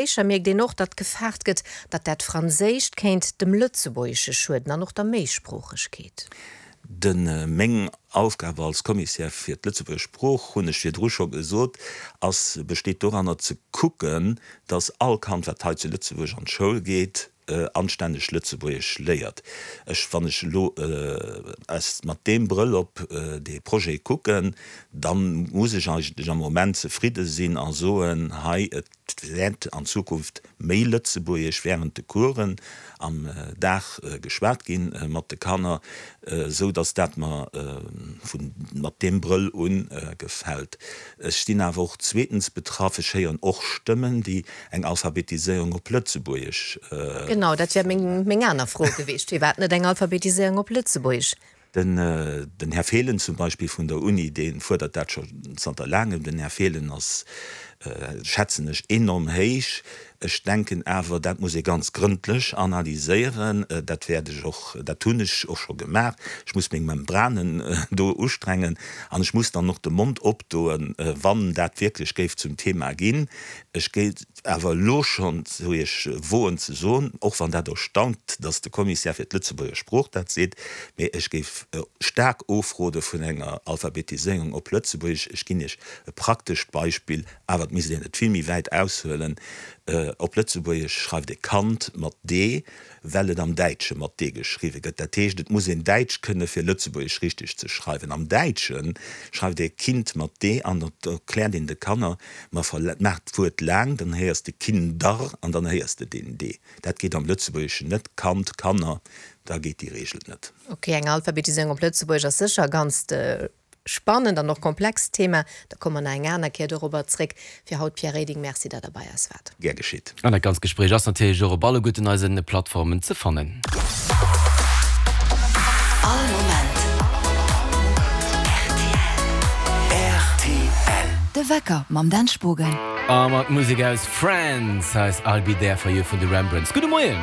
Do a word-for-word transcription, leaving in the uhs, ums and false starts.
Gespréicher mierkt een och, datt gefaart gëtt, datt dat Franséischt kéint dem Lëtzebuergesche schueden an och der Méisproochegkeet. De Meng Aufgabe als Kommissär fir d'Lëtzebuerger Sprooch, hunn ech virdru scho gesot, ass, besteet doranner ze kucken, datt all Kand, wat hei zu Lëtzebuerg an d'Schoul geet, anstänneg Lëtzebuergesch léiert. Ech, wann ech elo aus, mat deem Brëll op dee Projet kucken, da muss ech eigentlech am Moment zefridde sinn a soen, hei, et wäert an Zukunft méi Lëtzebuergesch während de Coursen am Dag geschwat gi mat de Kanner, esou datt dat mer vun, mat deem Brëll un gefält. Ech sinn awer och zweetens betraff, ech héieren och Stëmmen, déi eng Alphabetiséierung op Lëtzebuergesch. Genau, dat wär meng, meng aner Fro gewiescht, Firwat net eng Alphabetiséierung op Lëtzebuergesch? Den, den Här Fehlen zum Beispill vun der Uni, dee fuerdert dat scho zanter laangem. Den Här Fehlen ass, schätzen ech, enorm héich. Ech denken awer, dat muss ee ganz grëndlech analyséieren. Dat wäert ech och, dat hunn ech och scho gemaach. Ech muss meng Membranen do ustrengen an ech muss dann och de Mond opdoen, wann dat wierklech géif zum Thema ginn. Ech géif awer elo schonn zu Iech woen ze soen, och wann dat erstaunt, datt de Kommissär fir d'Lëtzebuerger Sprooch dat seet, mee ech géif staark ofrode vun enger Alphabetiséierung op Lëtzebuergesch. Ech ginn Iech e praktescht Beispill, awer et misst een et vill méi wäit aushuelen, Op Lëtzebuergesch schreift ee Kand mat d, well et am Däitsche mat d geschriwwe gëtt. Dat heescht, et muss een Däitsch kënne fir Lëtzebuergesch richteg ze schreiwen. Am Däitsche schreift ee Kind mat d an dat erkläert een de Kanner, Ma maach d'Wuert laang, dann héiers de Kinder an dann héiers de deen d. Dat geet am Lëtzebuergeschen net, Kand, Kanner, da geet déi Reegel net. Ok, eng Alphabetiséierung op Lëtzebuergesch ass sécher e ganzt spannend an och komplext Thema. Da komme mer nach eng aner Kéier dorobber zréck. Fir haut, Pierre Reding, Merci, datt Der bei eis waart. Gär geschitt. An dat ganzt Gespréich ass natierlech och op alleguerten eise Plattformen ze fannen. All Moment rtl. De Wecker mam Dan Spogen. A mat Musek aus Friends, hei ass I'll Be There For You vun de Rembrandts. Gudde Moien!